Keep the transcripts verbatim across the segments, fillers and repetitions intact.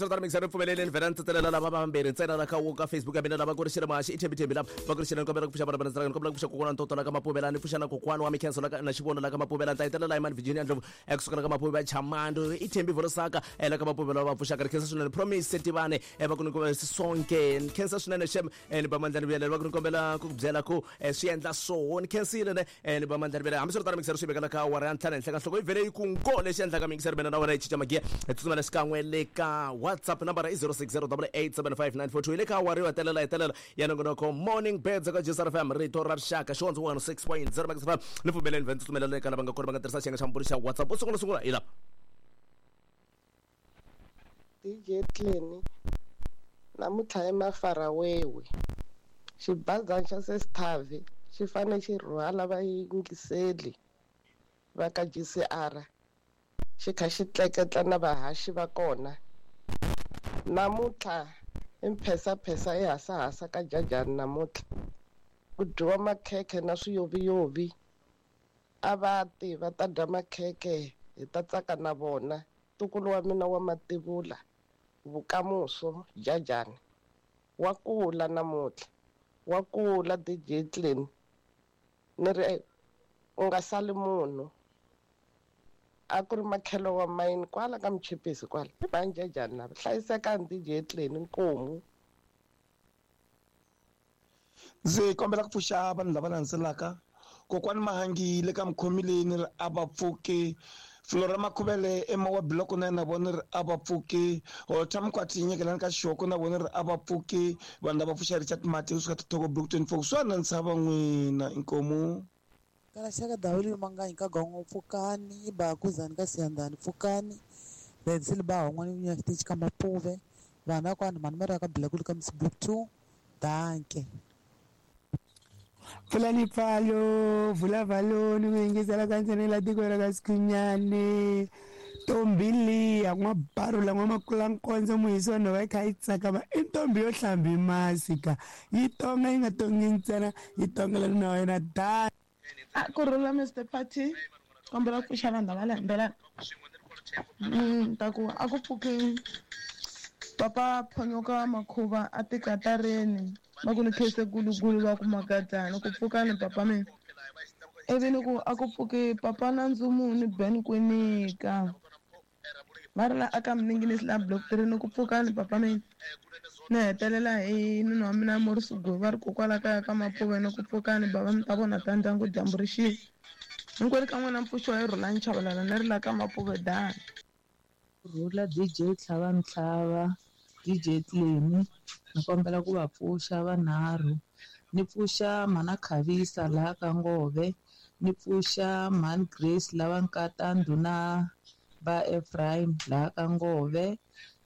Hambiswiritano mixer pfumeleleni vhela ni tsetselela lava vambirhi ntsena la ka wo ka Facebook ya mina lava ku ri xile mahaxi i thembi thembi lava va ku ri xile kombela ku pfuxa vana va ni kombela ku pfuxa kokwana ntoto la ka Mapuvela ni pfuxa na kokwana wa Mikhenso la ka na xivono la ka Mapuvela ni ta hetelela hi mani Virginia Ndlovu ekusuka la ka Mapuvela Chamando i thembi Volosaka la ka Mapuvela va pfuxaka ri khensa swinene Promise Tivane va ku ni kombela Sonke ni khensa swinene xem ni ba mandla ni vuyelela va ku ni kombela ku ku byela ku swi endla so ni khensile ne ni ba mandla ni vuyelela. Hambiswiritano mixer swi vekela ka awara ya ntlhanu henhla ka nhloko yi vhele yi ku nko lexi endlaka mixer mina na wena yi cinca magiya hi tsutsumela xikan'we le ka WhatsApp nambara i zero six zero double eight seven five nine four two hi le ka awara yo hetelela hetelela ya nongonoko Morning Birds ka J S R F M rito ra rixaka xihondzo one six point zero Max F M ni pfumeleni vhe ni tsutsumela le ka lava nga kona va nga tirhisa xiyenge xa mbulu xa WhatsApp u sungula sungula hi la D J Clean namuntlha i mafarawewe xibazana xa Sesithavi xi fanele xi rhwala vayingiseli va ka G C R xi kha xi tleketla na vahaxi va kona namuntlha i mphesaphesa i hasahasa ka jajani namuntlha ku dyiwa makhekhe na swiyoviyovi a va ti va ta dya makhekhe hi ta tsaka na vona ntukulu wa mina wa mativula vukamuso jajani wa kula namuntlha wa kula D J Clean ni ri u nga sali munhu a ku ri makhelo wa mayini kwala ka Mchipisi kwala i vanjajani lava hlayisekani D J Clean nkomu. Ndzi kombela ku pfuxa vanhu lava landzelaka kokwani Mahangi le ka mukhomi leyi ni ri a va pfuki Flora Makhuvele ema wa block na na vona ri a va pfuki Holta Mkwati nyekelani ka xoko na vona ri a va pfuki vanhu lava pfuxa Richard Mati kusuka Thoko Block twenty-four swa na ntshava n'wina inkomu Kalaxaka Dawuli Manganyi ka Gongo pfukani Bakuzani ka Siyandhani pfukani Benzili ba hon'wana nya xitichi ka Mapuve vana kwani mani mara ka Blakulu ka Miss Block two danke. Pfulani pfalo vula valoni ku yingisela ka ntsena tiko ra ka Sikhunyane ntombi liya n'wabarula n'wamakula-nkondzo muhisi wa nhova yi kha yi tsakama i ntombi yo hlambi masi ka yi tonga yi nga tongi ntsena yi tongela nuna wa yena da. A ku rhula Mister Party kombela ku pfuxa vanhu lava landzelaka mm ta ku a ku pfuki papa Phonyoka Makhuva a tikatareni va ku ni khese gulugulu va ku makadzana ku pfukani papa mina ivi ni ku a ku pfuki papa na Ndzumuni Ben Kwinika va ri la aka Mninginisi la block three ni ku pfukani papa mina ni hetelela hi nuna wa mina Morris Goyi va ri kokwala kaya ka Mapuve ni ku pfukani bava mi ta vona ta ndyangu dyambu ri xile hinkwenu ka n'wina mpfuxo hi Rhulani Chavalala ni ri la ka Mapuve dani. Rhula D J Tlhava Mtlhava D J Clean ni kombela ku va pfuxa vanharhu ni pfuxa Mhana Khavisa laha ka Ngove ni pfuxa Mhani Grace lava nkata ndhuna va Ephraim laha ka Ngove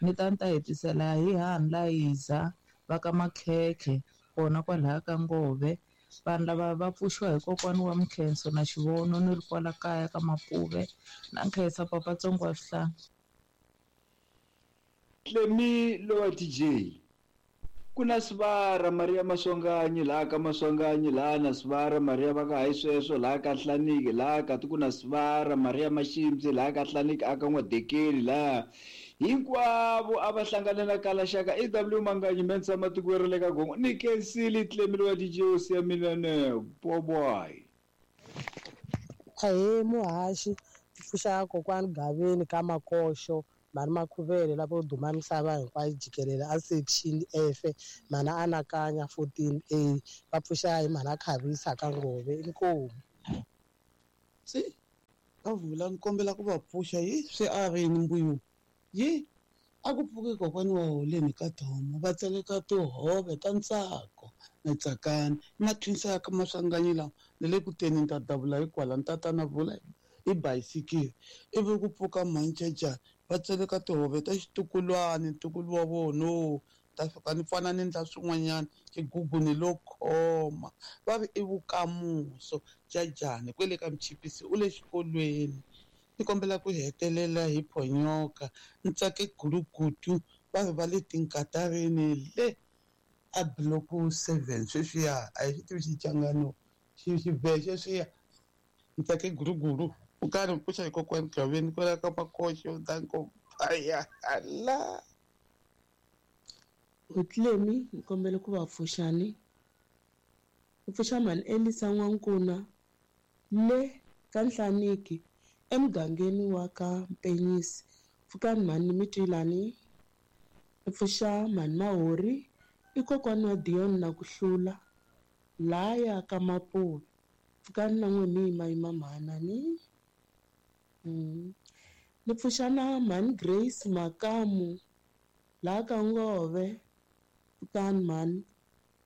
ni ta ni ta hetisela hi Hani Layiza va ka Makhekhe kona kwalaha ka Ngove vanhu lava va pfuxiwa hi kokwani wa Mkhenso na Xivono ni ri kwala kaya ka Mapuve na nkhensa papa Tsongo wa Swihlanga. Clemi lowa D J ku na Sivara Maria Maswanganyi laha ka Maswanganyi laha na Sivara Maria va ka hayi sweswo laha ka Hlaniki laha ka ku na Sivara Maria Mashimzi laha ka Hlaniki aka N'wadekeli laha hinkwavo a va hlangane na Kalaxaka E W Manganyi mensa matiko ra le ka Gongo ni khensile Clemi lowa D J hosi ya mina ne boboy. Ahee muhaxi pfuxa kokwani Gaveni ka Makoxo mhani Makhuvele lavo duma misava hinkwayo jikelele a section F mhana anakanya fourteen A va pfuxa hi mhana Khavisa ka Ngove inkomu. Se ka vula ni kombela ku va pfuxa yi swi arini mbuyo yi a ku pfuki kokwani wa Holeni ka Thomo va tseleka tihove ta ntsako na tsakani mathwinsa ya ka Maswanganyi lawa ni le ku teni ni ta davula hikwala ni tatana vula i bayisikiri ivi ku pfuka Manchejana va tseleka tihove ta xitukulwani ntukulu wa vona ta fika ni fana ni ndla swin'wanyana xigugu ni lo khoma va vi i vukamuso jajani kwele ka Mchipisi u le xikolweni ni kombela ku hetelela hi Phonyoka ntsake gulugudu va vi va le tinkatarini le a block seven sweswiya a hi xi tivi xichangano xi xivhe sweswiya ntsake gulugulu u karhi pfuxa hi kokwani Gaveni kwala ka Makoxo danko baya hala. Hotlemi ni kombela ku va pfuxani. Ni pfuxa mhani Elisa N'wankuna le ka Nhlaniki emugangeni wa ka Mpenyisi. Pfukani mhani mi twilani. Ni pfuxa mhani Mahori i kokwani wa Dion na ku hlula laya ka Mapuve. Pfukani na n'we mi yimayima mhanani. Mm. Ni pfuxa na mhani Grace Makamu laha ka Ngove. Pfukani mhani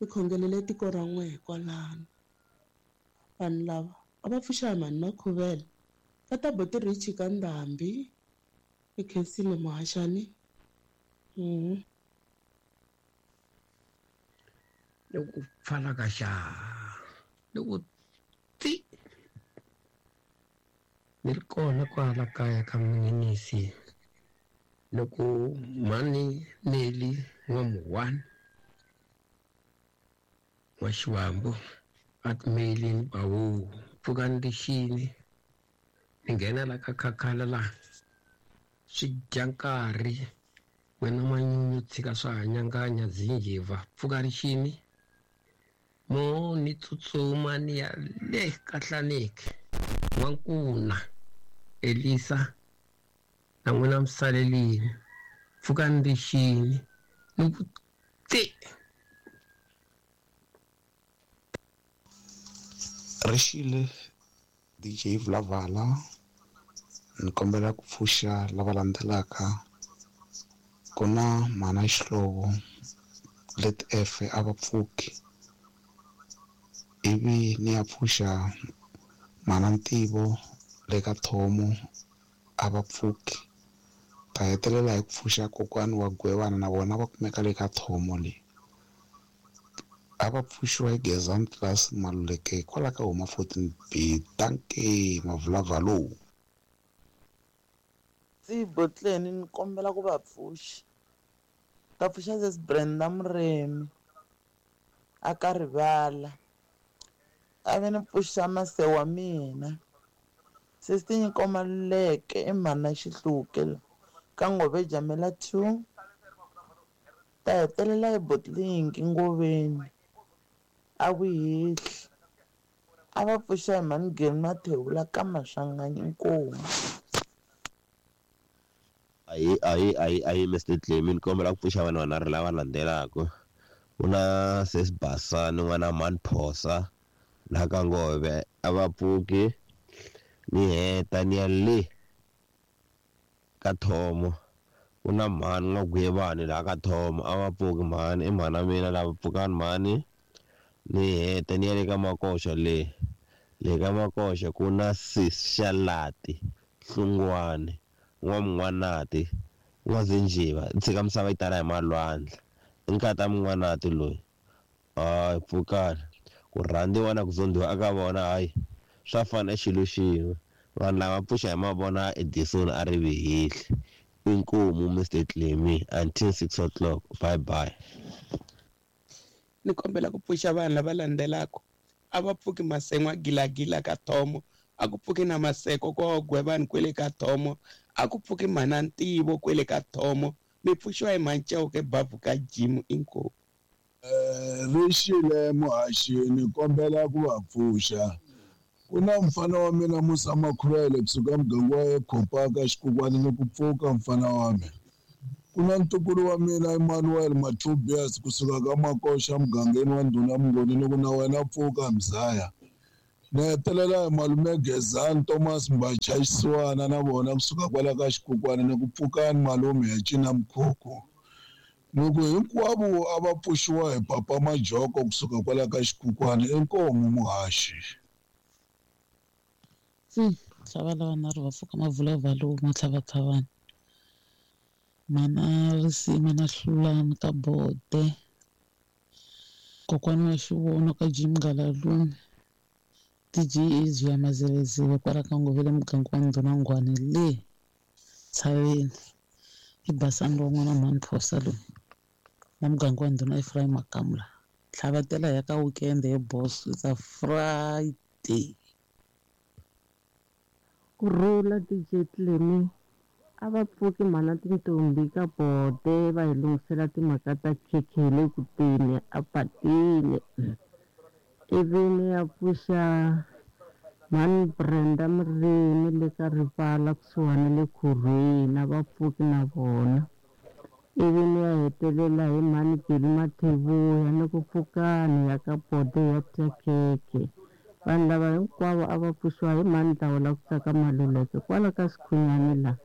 mi khongelele tiko ra n'we kwalano. Vanhu lava a va pfuxa hi mhani Makhuvele ka ta Boti Richi ka Ndhambi. I khensile muhaxani. Mm. Loko pfala ka xa loko ti ni ri kona kwala kaya ka Minginisi loko mhani Neli N'wamuhwani wa Xiwambu a timelini bawu pfukani lexini ni nghena la ka khakhala la swi dya nkarhi wena manyunyu tshika swa hanyanganya zinjiva pfuka rixini mo ni tsutsuma ni ya le ka Hlaneki N'wankuna Elisa na n'wina misalelini pfukani rixini ni ku ti Rixile D J Vulavala ni kombela ku pfuxa lava landzelaka. Ku na mhana Xihlovo let F a va pfuki, ivi ni ya pfuxa mhana Ntivo le ka Thomo a va pfuki. Ta hetelela hi ku pfuxa kokwani wa Gwevana na vona va kumeka le ka Thomo le. A va pfuxiwa hi Gezani Class Maluleke kwala ka huma fourteen B. Dankie Mavulavalo. Botleni ni kombela ku va pfuxa. Ta pfuxa sis Brenda Muremi a ka rivala. A ve ni pfuxa mase wa mina. Sis Tinyiko Maluleke i mhana Xihluke ka Ngove Jamela two. Ta hetelela hi Botlinki Ngoveni a Vuhehli. A va pfuxa hi mhani Geni Mathewula ka Maswanganyi Nkomu. Ayi ayi ayi ayi Mister Clemi ni kombela ku pfuxa vanhu vanharhu lava landzelaka. Ku na sis Basani n'wana Mhani Phosa laha ka Ngove a va pfuki ni heta ni ya le ka Thomo. Ku na mhani N'wagwevani laha ka Thomo a va pfuki mhani i mhana mina lava pfukani mhani ni heta ni ya le ka Makoxa le le ka Makoxa ku na sis Xalati Hlungwani N'wamun'wanati N'wazinjiva tshika misava yi tala hi malwandla i nkata mun'wanati loyi hayi pfukani ku rhandziwa na ku zondiwa aka vona hayi swa fana i xilo xin'we vanhu lava pfuxa hi mavona Edison a ri vihihli inkomu Mister Clemi until six o'clock bye bye. Ni kombela ku pfuxa vanhu lava landzelaka. A va pfuki Masen'wa Gilagila ka Thomo, a ku pfuki na Maseko ko Gwevani kwele ka Thomo, a ku pfuki mhana Ntivo kwele ka Thomo. Mi pfuxiwa hi Mancewuke Bavhu ka Jim inkomu. Rixile muhaxi ni kombela ku va pfuxa. Ku na mfana wa mina Musa Makhuvele kusuka muganga wa Ekhopaka Xikukwani ni ku pfuka mfana wa mina. Ku na ntukulu wa mina Emmanuel Mathubias kusuka ka Makoxa mugangeni wa Ndhuna Mngoni ni ku na wena pfuka mzaya. Ni hetelela hi malume Gezani Thomas Mbacha Xisiwana na vona kusuka kwala ka Xikukwani ni ku pfukani malume ya cina mkhukhu. Ni ku hinkwavo a va pfuxiwa hi Papa Majoko kusuka kwala ka Xikukwani inkomu muhaxi. Tlhava lava nharhu va pfuka Mavulavalo matlhavatlhavana. Mana Risima na Hlulani ka Bode. Kokwani wa Xivono ka Jim Ngalalume. D J Ezwi ya Mazelezele kwala ka Ngovele muganga wa Ndhuna Nghwani le Tshaveni. I Basani wa n'wana Mhani Phosa loyi na muganga wa Ndhuna Ephraim Makamula. Tlhavatela ya ka weekend ye boss it's a Friday. Ku rhula D J Clemi A va pfuki mhana tintombi ka bote va hi lunghisela timhaka ta khekhe hi le ku teni a patile. Ivi ni ya pfuxa mhani Brenda Murimi le ka rivala kusuhani le Khorwini, a va pfuki na vona. Ivi ni ya hetelela hi mhani Billy Mathebula ni ku pfukani ya ka bote ya dya khekhe. Vanhu lava hinkwavo a va pfuxiwa hi mhani Dlawula ku tsaka Maluleke kwala ka Sikhunyani laha.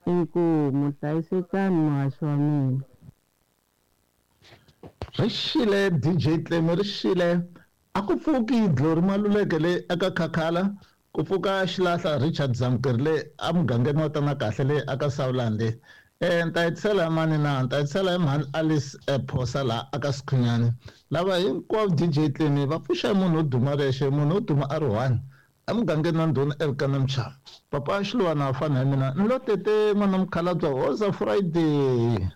Inkomu, hlayisekani muhaxi wa mina. Ri xile D J Tlemi ri xile. A ku pfuki Glory Maluleke le eka Khakhala, ku pfuka Xilahla Richard Zamkeri le emugangeni wa Tana Kahle le aka Sawulande. Eh ni ta hetisela hi mani na ni ta hetisela hi mhani Alice Phosa laha aka Sikhunyani. Lava hinkwavo D J Tlemi va pfuxa hi munhu wo duma rexe, munhu wo duma a ri one emugangeni wa Ndhuna Elkana Mchava. Papa Xiluwana a fana hi mina ni lo tete n'wana mukhalabye Hoza Friday.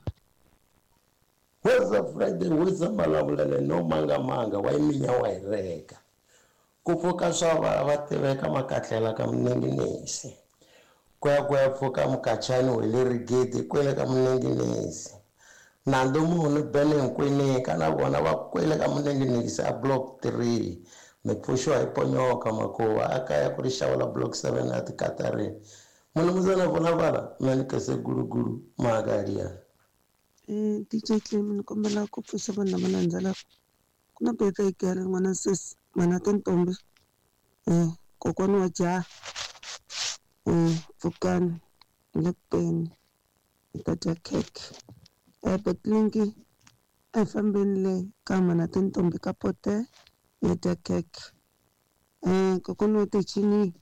Hoza Friday, hoza malavulele no mangamanga wa iminya wa hi reka. Ku pfuka swa va va tiveka makatlela ka Munenginesi. Ku ya ku ya pfuka mukachani wa le Rigidi kwele ka Munenginesi. Nando munhu Bene Nkwinika na vona va kwele ka Munenginesi a block three. Mi pfuxiwa hi ponyoka makuva a kaya ku ri xava la block seven a tikatarini. Munhu muzana vona vala mani kese gulugulu magalia. Eh D J Tlemi ni kombela ku pfuxa vanhu lava landzelaka. Ku na birthday girl n'wana sesi n'wana tintombi eh kokwana wa jaha eh pfukani hi le ku teni hi ta dya khekhe. Eh Betlinki a hi fambeni le ka mana tintombi ka pote hi dya khekhe. Eh kokwana wa tichini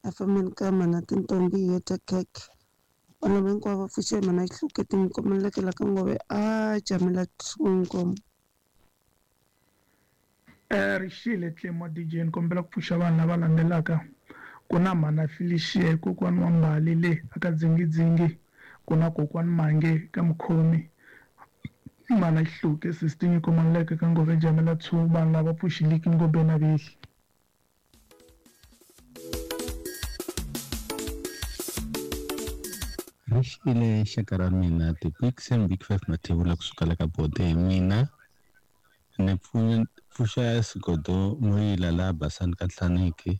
a fambeni ka mana tintombi hi dya khekhe. Vanhu hinkwavo va pfuxe mana Xihluketi ni kombeleke ka ngove a jamela thungo. Eh ri xile Tlemo D J ni kombela ku pfuxa vanhu lava landzelaka. Ku na mhana Felicia kokwana wa Mbali le aka Dzingidzingi, ku na kokwana Mange ka Mukhomi, mana Xihluke sister Nyiko Maluleke ka Ngove Jamela two, vanhu lava pfuxiliki Ngobeni na Vehli. Ri xile xaka ra mina the big seven big five Mathebula kusuka la ka bote hi mina ni pfuxa Sigodo Moyila la Basani ka Nhlaniki,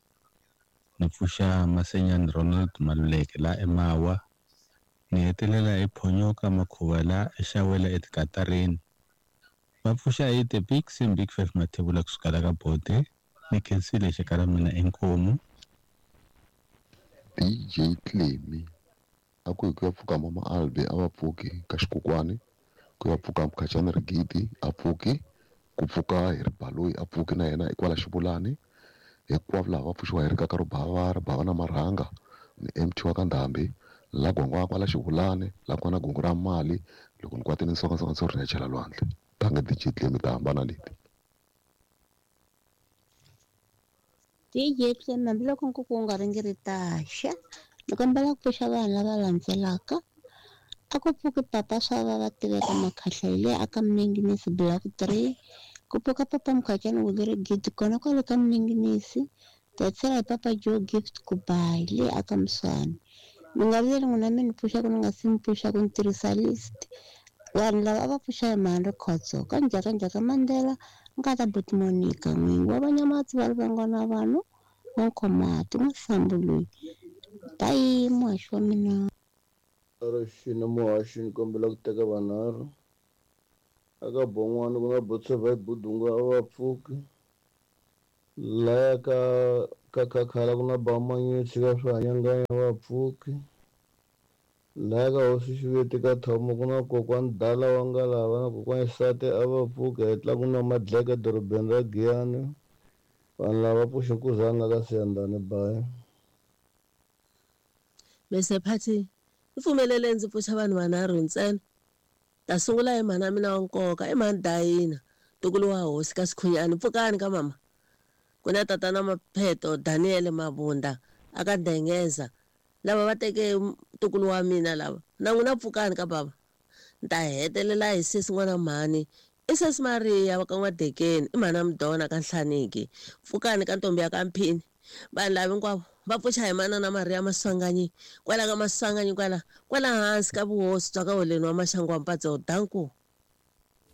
ni pfuxa Masenyani Ronald Maluleke la eMawa, ni hetelela hi Phonyoka Makhuva la eXawela etikatarini. Va pfuxa hi the big seven big five Mathebula kusuka la ka bote. Ni khensile xaka ra mina inkomu. D J Tlemi a ku hi ku ya pfuka mama Albi a va pfuki ka xikokwani, ku ya pfuka Mkhachani Rigidi a pfuki, ku pfuka hi Ribaloyi a pfuki na yena hikwala Xivulani, hinkwavo lava va pfuxiwa hi rikaka ro bava ri bava na marhanga ni M T wa ka Ndhambi la gwangwa kwala Xivulani la kwana gungu ra mali loko ni kwatini nsonga nsonga ri ya chela lwandle. Tanga D J Tlemi ta hambana leti. D J Tlemi hambiloko nkuku wu nga ringiritaxa ni kombela ku pfuxa vanhu lava landzelaka. A ku pfuki papa swa va va tiveka makhahla hi le aka Munenginisi block three, ku pfuka papa Mkhachani wu le Rigidi kona kwale ka Munenginisi, tatsela hi papa Joe Gift Kubayi le aka Muswani. Mi nga vileli n'wina mi ni pfuxaka ni nga si mi pfuxaka ni tirhisa list. Vanhu lava a va pfuxa hi mhani Rikhotso ka Njhaka Njhaka Mandela nkata Buti Monica n'wingi wa Vanyamatsi va Rivangwana vanhu wa Nkhomati n'wasambu loyi. Bayi muhaxi wa mina. Rixile muhaxi ni kombela ku teka vanharhu. Aka Bon'wana ku na Botseva Budunga a va pfuki. Laya ka ka Khakhala ku na Bamanyutsi ka Swihanyanganya a va pfuki. Laya ka Hosi Xiveti ka Thomo ku na kokwani Dala wa Ngalava na kokwani Xisati a va pfuki. Hetla ku na Madleka dorobeni ra Giyani. Vanhu lava pfuxe Nkuzana ka Siyandhani bayi. Mister Phathi, ni pfumelele ndzi pfuxa vanhu vanharhu ntsena. Ta sungula hi mhana mina wa nkoka, i mhani Dayina, ntukulu wa hosi ka Sikhunyani. Pfukani ka mama. Ku na tatana Mapheto Daniel Mabunda aka Dengeza. Lava va teke ntukulu wa mina lava. Na n'wina pfukani ka baba. Ni ta hetelela hi sesi n'wana mhani. I sesi Maria wa ka N'wadekeni, i mhana Mudona ka Nhlaniki. Pfukani ka ntombi ya ka Mphini. Vanhu lava hinkwavo Va pfuxa hi manana Maria Maswanganyi kwala ka Maswanganyi kwala kwala hansi ka vuhosi bya ka Holeni wa Maxangu wa Mpatso. Danko.